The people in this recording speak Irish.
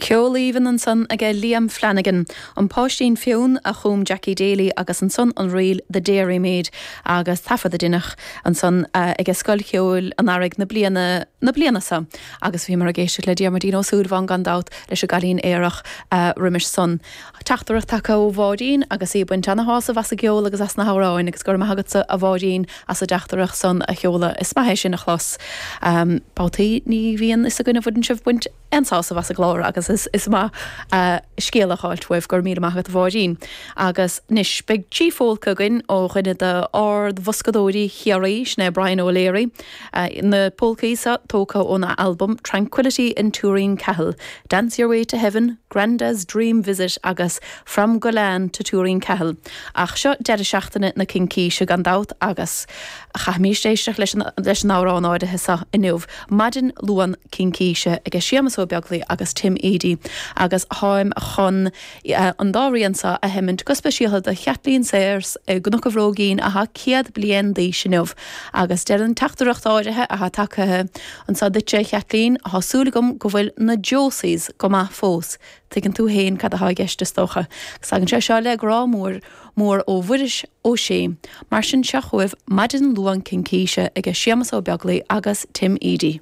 Ceol aoibhinn ansan aige Liam Flanagan, An Páistín Fionn a chum Jackie Daly agus ansan an ríl The Dairy Maid agus taifead a deineadh ansan aige Scoil Cheoil an Earraigh na bliana na bliana so agus bhíomar ag éisteacht le Diarmuidín Ó Súilleabháin gan dabht leis an gCailín Aerach roimis san. Teachtaireacht tagtha ó Mháirín agus í ag baint ana-shásamh as an gceol agus as na hamhráin agus go raibh maith agatsa a Mháirín as an dteachtaireacht san a sheoladh. Is maith é sin a chlos. Babhtaí ní bhíonn fhios againn an bhfuileann sibh ag baint aon sásamh as an gclár agus is maith scéala a fháilt uaibh. Go raibh míle maith agat a Mháirín. Agus anois beidh trí phólca againn ó dhuine d'ard-bhoscadóirí Chiarraí, sin é Brian O'Leary. Na pólcaí seo tógtha óna albam Tranquility in Tooreen Cahill, Dance Your Way to Heaven, Granda's Dream Visit agus From Gullane to Tooreen Cahill. Ach seo deireadh seachtaine na Cincíse gan dabht agus chaithfimís éisteacht leis an amhrán áirithe seo inniu, Maidin Luan Cincíse aige Séamus Ó Beaglaoi agus Tim Edey agus táim chun an dá rian seo a sheimint go speisialta do Chaitlín Sayers i gCnoc an Bhróigín athá 100 bliain d'aois inniu agus deir an teachtaireacht áirithe athá tagtha anso duitse a Chaitlín, thá súil agam go bhfuil na Josies go maith fós. Tuigeann tú fhéin cad athá i gceist is dócha. Agus tagann sé seo le grá mór mór ó Mhuiris Ó Sé. Mar sin seo chugaibh Maidin Luan Cincíse aige Séamus Ó Beaglaoi agus Tim Edey.